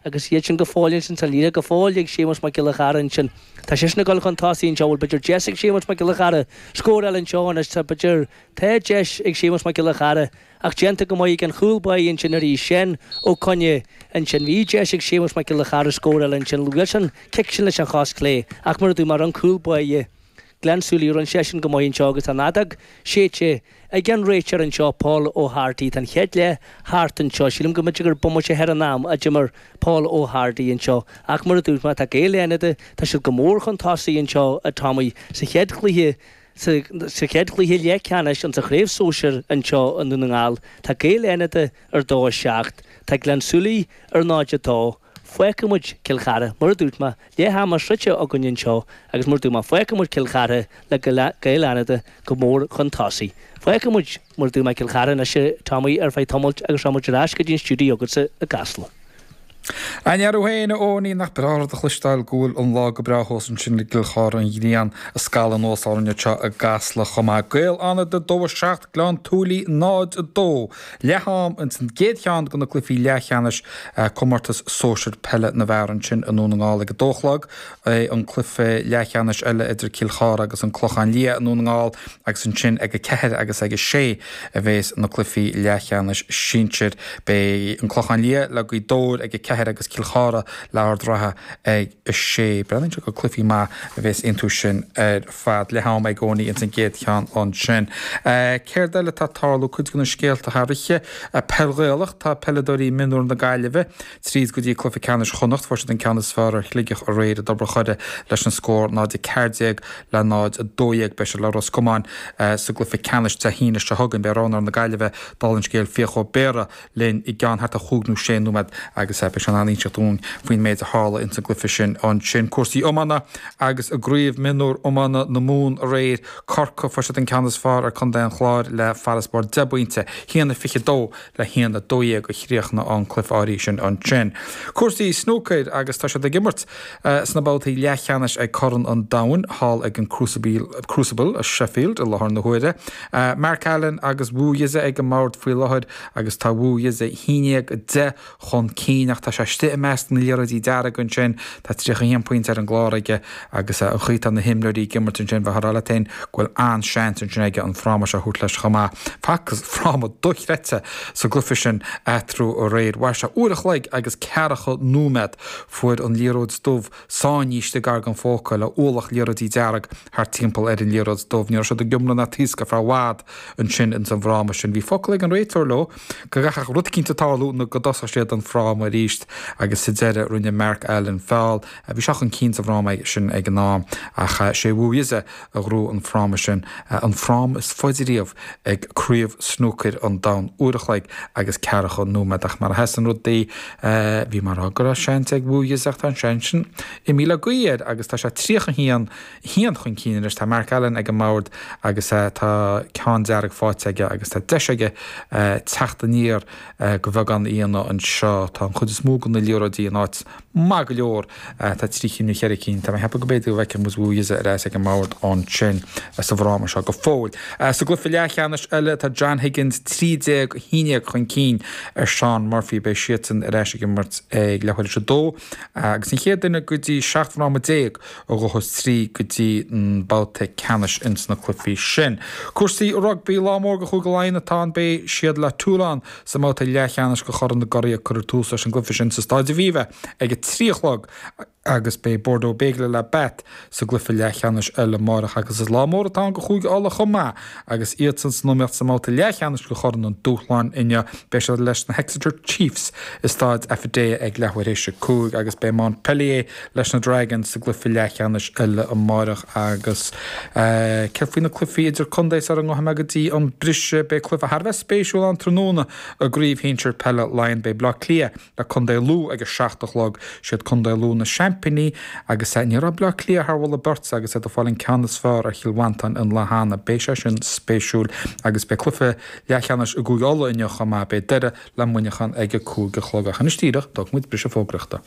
Agus iad sin go fóill ansin, tá an liathróid go fóill ag Séamus Mac Giolla Chara ansin. Tá seisean ag dul chun tosaigh anseo, bhfuil b'fhéidir deis ag Séamus Mac Giolla Chara scór eile anseo anois, tá b'fhéidir, tá deis ag Séamus Mac Giolla Chara ach déanta go maith ag an chúl báire ansin arís, Seán Ó Coinne ansin. Bhí deis ag Séamus Mac Giolla Chara scór eile ansin, bhuail sé an cic sin leis an chos chlé ach mar a dúirt mé, an cúl báire Gleann tSúilí, rinne seisean go maith anseo agus tá an fheadóg séidte ag an réiteoir anseo, Paul O'Harty. Tá an chéad leath thart anseo. Sílim go mb'fhéidir gur bomaite thar an am a d'imir Paul O'Harty anseo. Ach mar a dúirt mé, tá Gaeil Fhánada, tá siad go mór chun tosaigh anseo, a Tommy, sa chéad chluiche, sa chéad chluiche leathcheannais insa chraobh sóisir anseo i nDún na nGall. Tá Gaeil Fhánada ar 2, 7. Tá Gleann tSúilí ar 0, 2. Fágfaidh muid Cill Chartha, mar a dúirt mé, leath ama sroichte againn anseo agus mar a dúirt mé, fágfaidh muid Cill Chartha le Gaeil Fhánada go mór chun tosaigh. Fágfaidh muid, mar a dúirt mé, Cill Chartha anois, a Tommy, ar feadh tamaill agus rachaidh muid ar ais go dtí an stiúideo agatsa i gCasla. An fhear thú féin, a Eoiní, nach breá rud a chloisteáil go bhfuil an lá go breá thuas ansin i gCill Chartha, an ghrian ag scalladh anuas orainn anseo i gCasla chomh maith. Gaeil Fhánada 2, 7, Gleann tSúilí 0, 2. Leath am ins an gcéad cheann de na cluichí leathcheannais comórtas sóisir peile na bhfear ansin i nDún na nGall ag a dó a chlog. Beidh an cluiche leathcheannais eile idir Cill Chartha agus an Clochán Liath i nDún na nGall agus ansin ag a ceathair agus ag a sé a bhéas na cluichí leathcheannais sinsir. Beidh an Clochán Liath le Gaoth Dobhair ag a ceathair agus Cill Chartha le Ard Ratha ag a sé. Breathnaíonn sé gur cluichí maith a bhéas iontu sin ar fad. Leath am ag Eoiní ins an gcéad cheann ansin. Céard eile atá ag tarlú? Cuid de na scéalta thar oíche. Peil Ghaelach, tá peileadóirí mionúr na Gaillimhe tríd go dtí cluiche ceannais Chonnacht. Fuair siad an ceann is fearr ar Shligeach aréir i dTobar Choire leis an scór 0-14 le 0-12. Beidh siad le Ros Comáin sa gcluiche ceannais Dé hAoine seo chugainn. Beidh roghnóir na Gaillimhe, dála an scéil, Fiach Ó Béarra, linn i gceann thart ar chúig nó sé nóiméad agus beidh sé in ann inseacht dúinn faoin méid a tharla ins an gcluiche sin ansin. Cúrsaí iomána agus i gCraobh Mionúr Iomána na Mumhan aréir, Corcaigh, fuair siad an ceann is fearr ar Contae an Chláir le farasbarr deich bpointe, 1-22 le 1-12 a chríochnaigh an cluiche áirithe sin ansin. Cúrsaí snúcair agus tá siad ag imirt sna babhtaí leathcheannais ag Corn an Domhain thall ag an Crucible i Sheffield i láthair na huaire. Mark Allen agus Wu Yize ag an mbord faoi láthair agus tá Wu Yize 11-10 chun cinn ach tá sé istigh i measc na liathróidí dearga ansin. Tá 31 pointe ar an gclár aige agus an chaoi atá na himreoirí ag imirt ansin bheifeá ag rá leat féin go bhfuil an-seans ansin aige an fráma seo a thabhairt leis chomh maith. Facthas fráma dochreidte sa gcluiche sin eatarthu aréir. Mhair sé uair a chloig agus ceathracha nóiméad. Fuair an liathróid dubh sáinnithe istigh gar don phóca le ualach liathróidí dearg thart timpeall ar an liathróid dubh. Ní raibh siad ag iomramh ná taoscadh ar feadh i bhfad ansin ins an bhfráma sin. Bhí focal ag an réiteoir leo go gcaithfeadh rud eicínt tarlú nó go dtosódh siad an fráma arís agus sa deireadh rinne Mark Allen feall. Bhí sé chun cinn sa bhfráma sin ag an am ach sé Wu Yize a ghnóthaigh an fráma sin, an fráma is faide riamh ag Craobh Snúcair an Domhain, uair a chloig agus ceathracha nóiméad. Ach mar a sheasann rudaí, bhí mé ag rá go raibh seans ag Wu Yize ach tá an seans sin imithe le gaoth air agus tá sé 31 1 chun cinn anois. Tá Mark Allen ag an mbord agus tá ceann dearg faighte aige agus tá deis aige teacht aniar de bheagán a dhéanamh anseo. Tá an chuid is mó de na liathróidí in áit maith go leor. Tá trí cinn nó cheithre cinn. Tá mé ag ceapadh go mb'fhéidir go bhfeicfidh muid Wu Yize ar ais ag an mbord ansin sa bhfráma seo go fóill. Sa gcluiche leathcheannais eile tá John Higgins 13 11 chun cinn ar Shaun Murphy. Beidh siadsan ar ais ag imirt ag leathuair tar éis a dó agus an chéad duine go dtí 17 fráma a ghabhfas tríd go dtí an babhta ceannais ins na cluichí sin. Cúrsaí rugbaí, lá mór do Chúige Laighean atá ann. Beidh siad le Toulon sa mbabhta leathcheannais de Chorn na gCuradh. Cuirfear tús leis an gcluiche sin sa Stáid Aviva ag a 3 a chlog agus beidh Bordeaux Bègles le Bath sa gcluiche leathcheannais eile amárach agus is lá mór atá ann do Chúige Uladh chomh maith agus iadsan san iomaíocht sa mbabhta leathcheannais de Chorn an Dúshláin inniu. Beidh siad leis na hExeter Chiefs i Stáid Affidea ag leathuair théis a 5 agus beidh Montpellier leis na Dragons sa gcluiche leathcheannais eile amárach agus céard faoi na cluichí idir contae sara ngabhfaidh mé go dtí an briseadh? Beidh cluiche thar a bheith spéisiúil ann tráthnóna i gcraobh shinsir peile Laighean. Beidh Bleá Cliath le Contae Lú ag a 7 a chlog. Siad Contae Lú na seaimpíní agus ní raibh Bleá Cliath thar mholadh beirte agus iad ag fáil an ceann is fearr ar Chill Mhantáin an lá cheana. Beidh sé sin spéisiúil agus beidh cluiche leathcheannais i gCúige Uladh inniu chomh maith. Beidh Doire le Muineachán ag a 5 a chlog ach anois díreach, tógfaidh muid briseadh fógraíochta.